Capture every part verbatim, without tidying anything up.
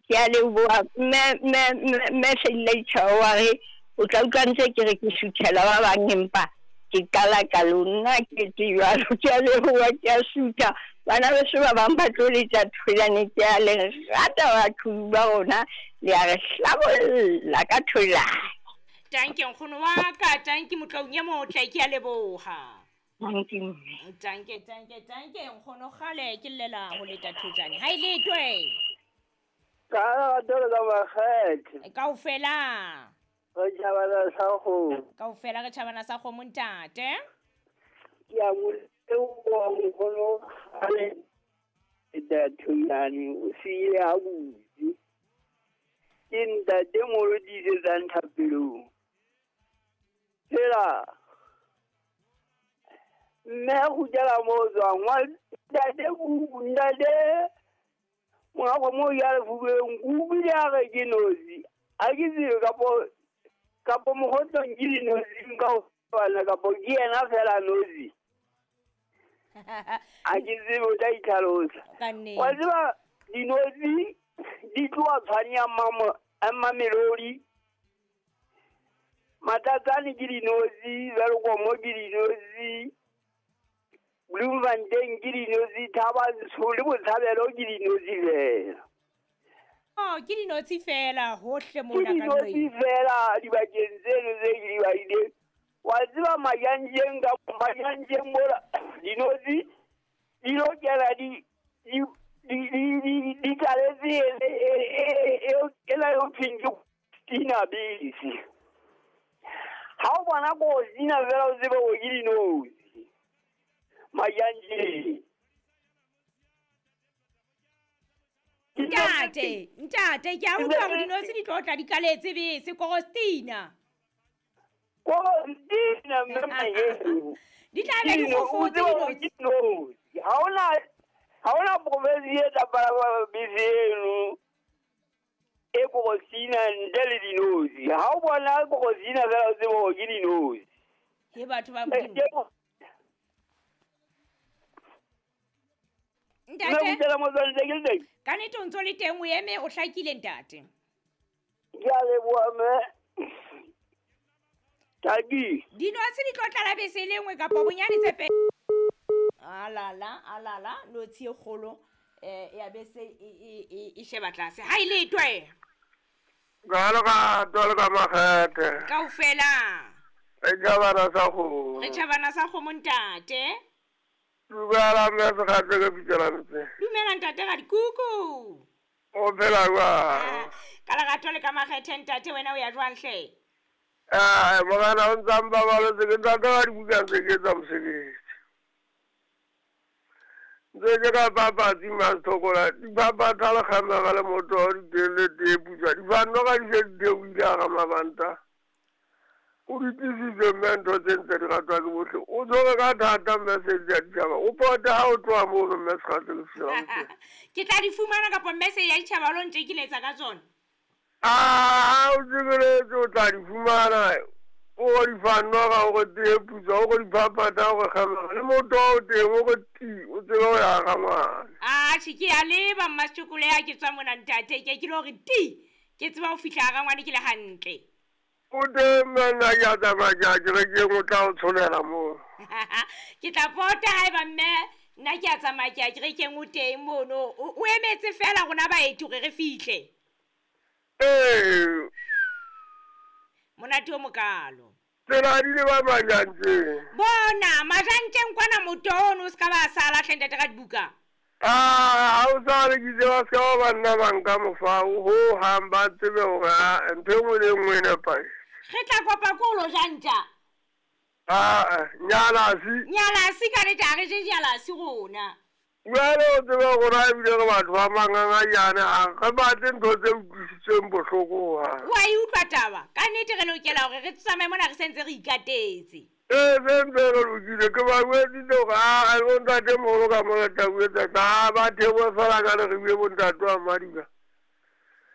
Ke a leboha mme mme mme Seilaitjhaba wa re o tla utlwa ntse ke re ke suthela ba bang empa ke qala ka lona ke etse jwalo. Ke a leboha, ke a sutha. Bana beso ba bang ba tlo letsa tholane, ke a le rata batho ba rona, le a re hlabolla ka tholane. Tanke nkgono wa ka, tanke motlaung e motle, ke a leboha. Tanke mme. Tanke, tanke, tanke nkgono kgale ke llela ho leta thojane. Ha e letwe. Ka lerato le ka makgethe. Kaofela. Re tjhabana sa kgomo. Kaofela re tjhabana sa kgomo ntate. Ke a mo leboha nkgono kgale leta thojane o siile ha botse. Ke ntate mo lo tiisetsang thapelong. Fela mme a kgutlela mo o tswang wa ntate kuku ntate monga kgomo o ja lefubeng ke utlwile a re ke nosi. Ha ke tsebe kapo kapo mokgotlong ke dinotshi ka ho fapana kapo ke yena fela nosi. Ha ke tsebe o tla itlhalosa. Ka nnete. Wa tseba dinotshi di tloha tshwane ya Mamelodi. Matlatsane ke dinotshi, Welkom ke dinotshi, Bloemfontein ke dinotshi, Thabantsho le Botshabelo ke dinotshi fela. Oh, ke dinotshi fela hohle Ke mona ka dinotshi nqeng. fela dibakeng tseno tse ke di badileng. Wa tseba Majanjeng ka Majanjeng mola dinotshi di lo kena di di di di di di tlaletse e e e ena eo thweng ke Tina bese. Ha o bona kostina fela o tsebe hore ke dinotshi. Majanjeng. Ntate, ntate, ke a utlwa hore dinotshi di tlo tla di kaletse bese Korostina. Korostina mme Mahewu. Di tla be di Dino- o fofotse tsebe hore dinotshi. ke dinotshi. Ha hona ha hona province e tla palama bese eno e Korostina ntle le dinotshi. Ha o bona Korostina fela o tsebe hore ke dinotshi. He batho ba Eh, Modimo. ke- Mme Ntate, kgutlela mo tswang ntse ke le teng. ka nnete o ntso le teng o eme o hlakile ntate. Ke a leboha mme. Taki. Dinotshi di tlo tlala bese e le nngwe kapa bonyane tse pedi. Alala, alala, notshi e kgolo eh ya bese e e e e sheba tlase. Ha e letwe. Ka lerato le ka makgethe. Kaofela. Re tjhabana sa kgomo. Re tjhabana sa kgomo ntate. Dumela mme Sekgatse ke bitsa ntse. Dumela ntate ga dikuku. O phela jwang? Ka lerato le ka makgethe ntate, wena o ya jwang hle? Eh, morena o ntsa mpabaletse ke ntate wa dibuka ntse ke etsa mosebetsi. Ntse ke ka papatsi Masthokola, dipapatha le kgamega le motoho di teng le tee putswa. Difano ka di se di theohile hara mabanta. O di tlisitse mme ntho tse ntse di ratwa ke bohle. O tshwere ka thata mme Sedi ya Ditjhaba. O pote ha o tloha mono mme Sekgatse le fihla o teng. Ke tla di fumana kapa mme Sedi ya Ditjhaba o lo ntjekiletsa ka tsona? Ah, o tsebeletse o tla di fumana. O di fanoga o re tee putswa, o re diphaphatha, o re kgamega. Le motoho o teng, o re ti, o tsebe ho ya ga ngwana. Ah, tjhe, ke a leba Mmasechokolo ya ke tswa mona ntate, ke ke lo re ti. Ke tseba ho fihla ga ngwane ke le hantle. O teng mme nna ke a tsamaya ke ya kerekeng, o tla o tsholela moo. Ke tla pota haeba mme nna ke a tsamaya ke ya kerekeng o teng mono. O, o emetse fela rona baeti hore re fihle. Ee. Monate o mokalo. Tsela di le ba Majantjeng. Bona, Majantjeng kwana motoho ono o ska ba sala hle ntate ka dibuka. Ah, ha o sa re ke tseba se ka ba banna ba nka mofao ho hang ba tsebe hore ah, ntho e nngwe le e nngwe e nepahetse. Re tla kopa ko lo ja ntja. Ah, nyalasi. Nyalasi ka nnete ha re je nyalasi rona. Jwale o tsebe hore ha ebile re batho ba mangangajane, ha re batle ntho tse utlwisitsweng bohloko hohang. Wa e utlwa taba? Ka nnete re lokela hore re tsamaye mona re sentse re ikatetse. Ee, se ntse re lokile. Ke ba jwetsitse hore ah, bontate moholo ka mona tla jwetsa ka, ah, ba theohe fela ka le re bue bontate wa Madiba.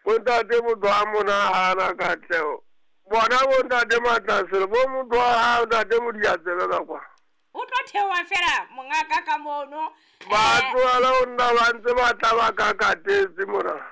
Bontate motho a monahana katleho. Bona bontate Matlasele, bo motho wa hao ntate Modiatsebe ka kwa. O tlo theoha fela mongaka ka mono. Ba tlohela ho nna ba ntse ba tla ba kakatetse mona.